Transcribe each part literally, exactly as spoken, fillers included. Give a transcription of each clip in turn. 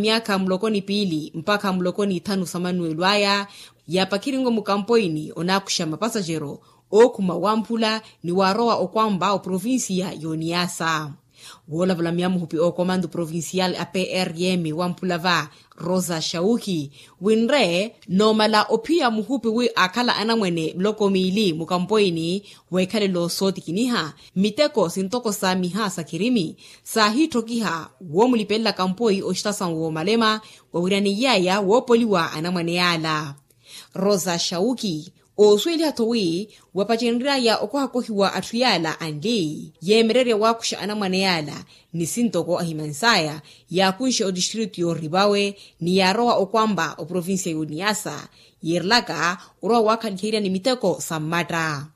myaakha muloko ni piili mpakha muloko ni ithanu sa manuwelo aya, yaapakirinwe mukampoini onaakuxa mapasajero ookhuma wamphula ni waarowa okwampa oprovinsiya y'oniyasa. Woolavulamya muhupi ookomantu provinsiyali a prm wamphula va rosa shauki, winre noomala ophiya muhupi wi aakhala anamwene miloko miili mukampoini, weekhalelo sootikiniha miteko sintoko saamiha sa khirimi saahiitthokiha woomulipelelaka mpoi oxitasawu woomalema, wawiryaniy'aya woopoliwa anamwane yaala. Rosa shauki oosuweliha-tho wi wapacenry'aya okohakohiwa atthu yaala anli yeemererya waakuxa anamwane yaala, ni sintoko ahimansaya yaakunxe otistritu yooripawe ni yaarowa okwampa oprovinsiya y'oniyasa, yiirelaka orowa waakhaliherya ni miteko sa mmatta.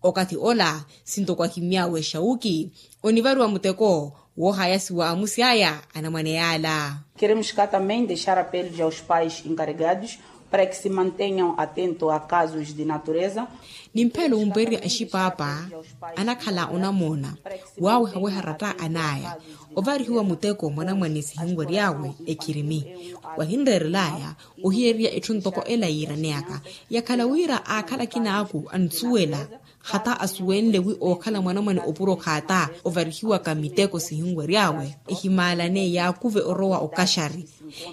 Okathi ola sintoko ahimmy'awe shauki onivariwa muteko woohayasiwa amusi aya anamwane yaala. Keremos ka tambem dexar apellos aos pais encarregados para que se manteñam atento a casos de natureza. Nimphelo wumpererya axipaapa anakhala onamoona waawehaweha ratta an'aya ovarihiwa muteko mwanamwane sihinwery'awe ekhirimi, wahinreerel'aya ohiyererya etthu ntoko ela yiiraneyaka yakhala wira aakhala akinaaku ansuwela hata asuwenle wi ookhala mwanamwane opuro khaata ovarihiwaka miteko sihinwery'awe ehimaalane yaakuve orowa okaxari.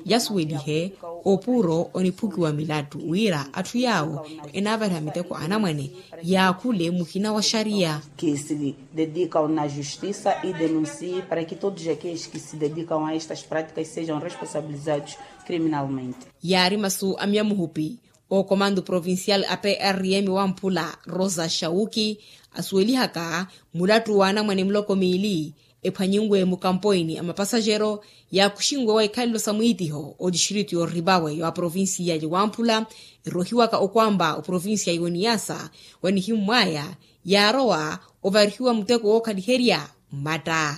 Yasuwelihe opuro oniphukiwa milattu wira atthu yaawo enaavariha miteko anamwane yaakhule muhina wa xariya. Que se dedicam na justisa e denuncie para que todos aqueles que se dedicam a estas práticas sejam responsabilizados criminalmente. Yaari masu a myamuhupi ookomantu provinsiyali a prm wamphula rosa shauki asuwelihaka mulattu w'anamwane muloko miili ephwanyinwe mukampoini a mapasajero yaakuxinwe wa ikhalelo sa mwiitiho otistritu yooripawe wa provinsiya ya wamphula erohiwaka okwampa oprovinsiya y'oniyasa, wa nihimmw'aya yaarowa ovarihiwa muteko wookhaliherya mmatta.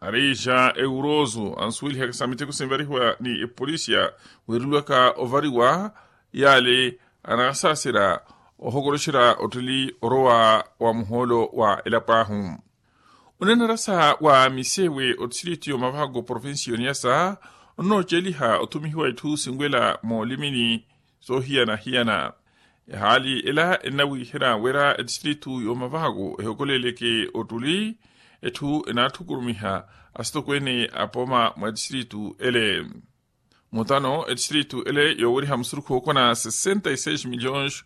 Arixa eurosu ansuwelihaka sa miteko sinvarihiwa ni epolisiya weereliwaka ovariwa yaale anaasaasera ohokoroxerya ottili orowa wa muhoolo wa elapo ahu. Onanarasa wa misewe otistritu y'omavako provinsi y'oniyasa onnooceliha othumihiwa itthu sinwela moolimini soohiyana-hiyana. Ehaali ela ennawiihera wira etistritu y'omavako ehokoleleke ottuli etthu enaatthukurumiha asitokweene a pooma mwa etistritu ele. Mutano etistritu ele yooweriha musurukhu wookona sessenta e seis milhões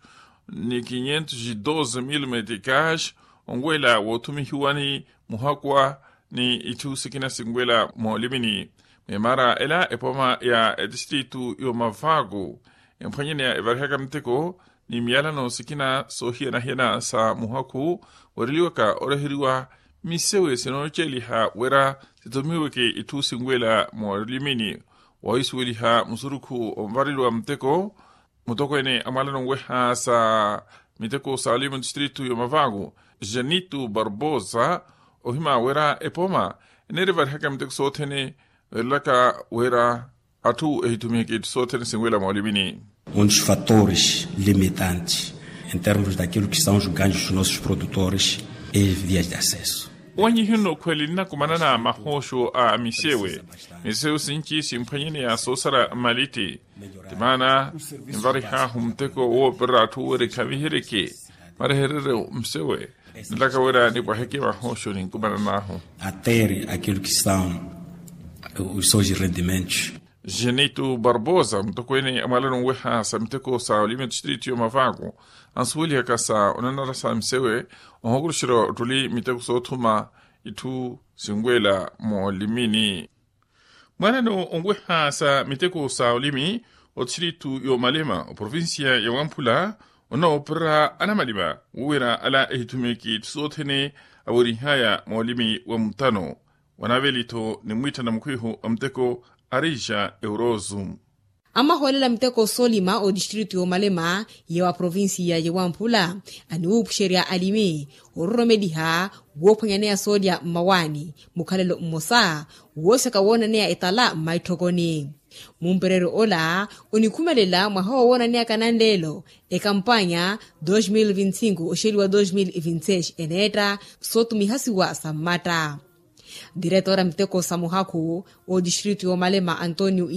ni quinhentos e doze mil meticas onwela woothumihiwani muhakwa ni itthu sikina sinwela moolimini. Mwimaara ela epooma ya etistritu y'omavako emphwanyeneya evarihaka miteko ni miyalano sikina soohiyana-hiyana sa muhakhu weereliwaka oreheriwa misewe sinooceliha wira sithumiweke itthu sinwela moolimini. Wahisuweliha musurukhu onvareliwa muteko mutokweene a mwalano nweha sa miteko sa olima etistritu y'omavako janito barbosa ohima wira epooma eneerivarihaka miteko sothene weerelaka wira atthu ehithumiheke itthu sothene sinwela moolimini. Um dos fatores limitantes em termos daquilo que são os ganhos dos nossos produtores e vias de acesso. Owanyihiwe nno okhweli nnakumanana mahooxo a misewe misewe sinci simphwanyeneya soosara malitti. Timaana envarih'ahu muteko woopererya atthu wira ekhaviheryeke marehereryo msewe nlaka wira nipwaheke vahooxo ninkumanan'ahu. A ter aquilo que são os seus rendimentos. Janito barbosa mutokweene a mwalano nweha sa miteko sa olima etistritu y'omavako ansuwelihaka sa onanara sa msewe ohokuruxerya ottuli miteko soothuma itthu sinwela moolimini. Mwanano onweha sa miteko sa olimi otistritu y'omalema oprovinsiya ya wamphula onoopererya anamalima wowira ala ehithumeke itthu sothene awerihaya moolimi wa mutano. Wanaveli-tho ni mwiittana mukhwihu a muteko arixa eurosu. Amahoolela miteko soolima otistritu y'omalema ya wa provinsiya ya wamphula aniwuupuxerya alimi ororomeliha woophwanyaneya soolya mmawaani mukhalelo mmosa woosaka woonaneya etala mmaitthokoni. Mumpereryo ola onikhumelela mwaha wowoonaneyaka nanleelo ekampanya dos mil vinti cinco oxeliwa dos mil vinti seis eneetta sootumihasiwa sa mmatta. Diretora miteko sa muhakhu otistritu y'omalema antonio